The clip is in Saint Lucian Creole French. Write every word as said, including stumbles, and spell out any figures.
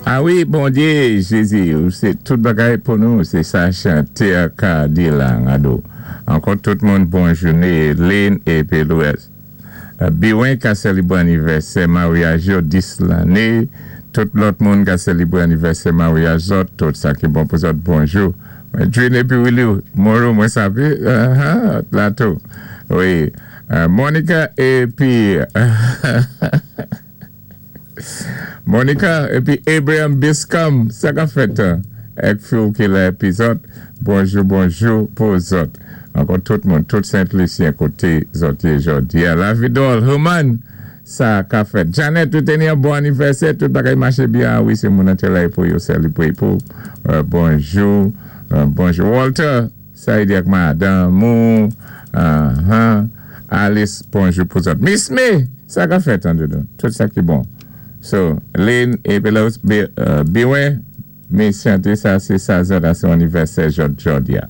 A wi, Bondyé, Jézi, sé tout bagay pou nou, sé sa chanté a ka di la, ado. Ankò tout moun bon jouné, Lynn épi Louis. Biwen ka sélibwé anivèsè maryaj yo dis lanné, tout lòt moun ka sélibwé anivèsè maryaj zòt, tout sa ki bon pou zòt, bonjou. Drine épi Willy, Moro mwen savé, la tou. Wi, Monica épi... Monica épi Abraham Biscom, sa ka fèt èk fi ki la épi zòt, bonjou, bonjou pou zòt. Ankò tout moun, tout Sent-Lisyen koté zòt yé jòdi. La Vidol, Human, sa ka fèt. Janet, tout ni yon bon anivèsè, tout bagay maché byen. Wi, sé moun an la pou yo sélibwé pou. Bonjou, bonjou. Walter, sa y di ak madanm ou, Alice, bonjou pou zòt. Miss May, sa ka fèt an doudou. Tout sa ki bon. So, Lynn épi Biwen, mi chanté sa, sé sa zòt a son anivèsè jòdi a.